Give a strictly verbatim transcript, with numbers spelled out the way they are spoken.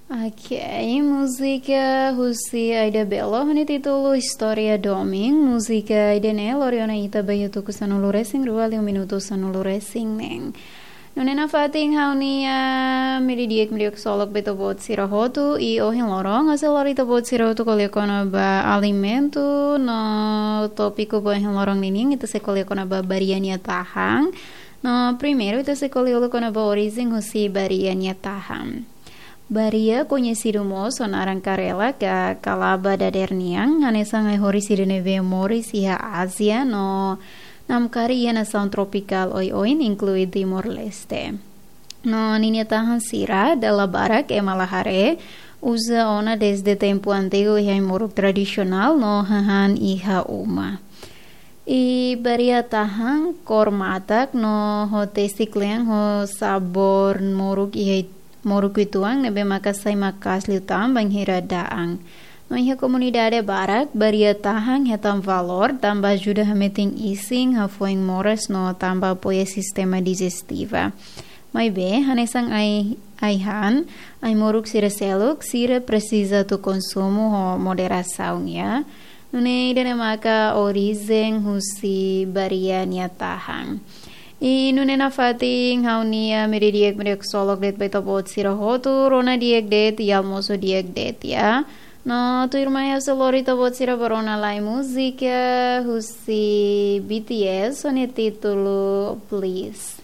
Ok, múzika husi Aida Bello ho nia títulu Istória Domin. Múzika ida-ne'e lori ona ita ba iha tuku sanulu-resin-rua liu minutu sanulu-resin-neen. Nune'e nafatin ha'u-nia meiudia di'ak, meiudia ksolok ba ita-boot sira hotu, i ohin loron ha'u sei lori ita-boot sira hotu ko'alia kona-ba alimentu no tópiku ba ohin loron ninian ita sei ko'alia kona-ba baria nia tahan. No primeiru ita sei ko'alia uluk kona-ba orijen husi baria nia tahan. Baria koñesidu mós ho naran karela ka kalaba dadeer nian, hanesan ai-horis sira ne'ebé moris iha Ázia no namkari iha nasaun tropikál oioin, inklui Timor-Leste. No ninia tahan sira dala barak ema la haree, uza ona dezde tempu antigu iha ai-moruk tradisionál no hahán iha uma. I baria tahan kór matak no ho tesi kle'an ho sabór moruk iha it-, moruk uitoan ne'ebé maka sai maka'as liután bainhira da'an. No iha komunidade barak, baria tahan hetan valór tanba ajuda hametin isin, hafoin moras no tanba apoia sistema dijestiva. Maibé, hanesan ai, ai-han, ai-moruk sira seluk, sira presiza atu konsumu ho moderasaun, ya. Nune'e ida-ne'e maka orijen husi baria nia tahan. I nune'e nafatin ha'u-nia meiudia di'ak, meiudia ksolok de'it ba ita-boot sira hotu, rona di'ak de'it, i almosu di'ak de'it, ya. No tuirmai ha'u sei lori ita-boot sira ba rona lai múzika husi B T S ho nia títulu Please.